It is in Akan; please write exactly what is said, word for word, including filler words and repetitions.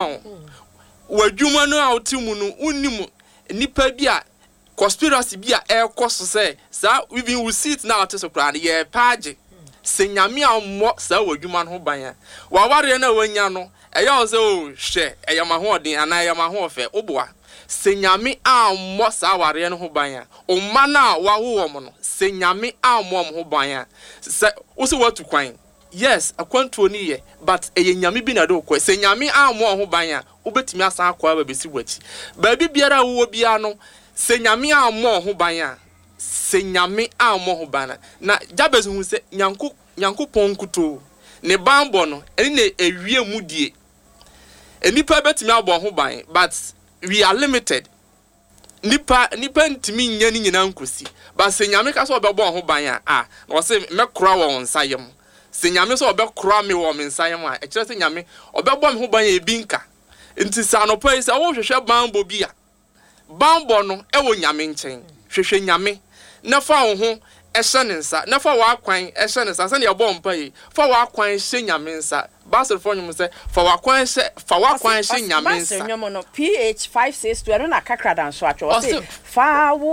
Wo w'adwuma no a wote mu no, wonnim nnipa bi a conspiracy bi a ɛrekɔ so sɛ saa even wo seat na wote so koraa no yɛrepɛ agye. Sɛ Nyame ammɔ saa w'adwuma no ho ban a, w'awareɛ no a woanya no, ɛyɛ wo sɛ oh hwɛ ɛyɛ m'ahoɔden anaa ɛyɛ m'ahoɔfɛ, woboa. Sɛ Nyame ammɔ saa awareɛ no ho ban a, wo mma no a woawo wɔn no, sɛ Nyame ammɔ wɔn ho ban a, sɛ wo sɛ woatu kwan, Yes, akwantuo no yɛ but ɛyɛ Nyame bi na ɛde wo kɔɛ. Sɛ Nyame ammɔ wo ho ban a, wobɛtumi asan akɔ aba abɛsi w'akyi. Baabi biara a wowɔ biara no, sɛ Nyame ammɔ wo ho ban a, sɛ Nyame ammɔ wo ho ban a, na Jabez hu sɛ Nyanko, Nyankopɔn nkutoo, Ne banbɔ no, ɛne na ɛwie mudie. Nnipa bɛtumi abɔ wo ho ban but we are limited. Nipa nipa ntumi nyɛ ne nyinaa nkosi. But sɛ Nyame ka sɛ ɔbɛbɔ wo ho ban a, ah, na ɔse mɛkora wɔ wo nsa yam. Sɛ Nyame sɛ ɔbɛkora me wɔ me nsa yam a, ɛkyerɛ sɛ Nyame ɔbɛbɔ me ho ban a ebi nka. Nti sɛ anɔpa yi sɛ wohwehwɛ banbɔ bi a, banbɔ no ɛwɔ Nyame nkyɛn. Hwehwɛ Nyame na fa wo ho hyɛ ne nsa, na fa w'akwan hyɛ ne nsa, sɛnea yɛbɔ mpae yi, fa w'akwan hyɛ Nyame nsa. Basilfoɔ nnwom sɛ, fa w'akwan hyɛ, fa w'akwan Ɔse, hyɛ ɔse, Nyame Basil nsa. nnwom no, P H five six two, ɛno na Kakrada nso atwerɛ. Ɔse, Ɔse. Fa wo.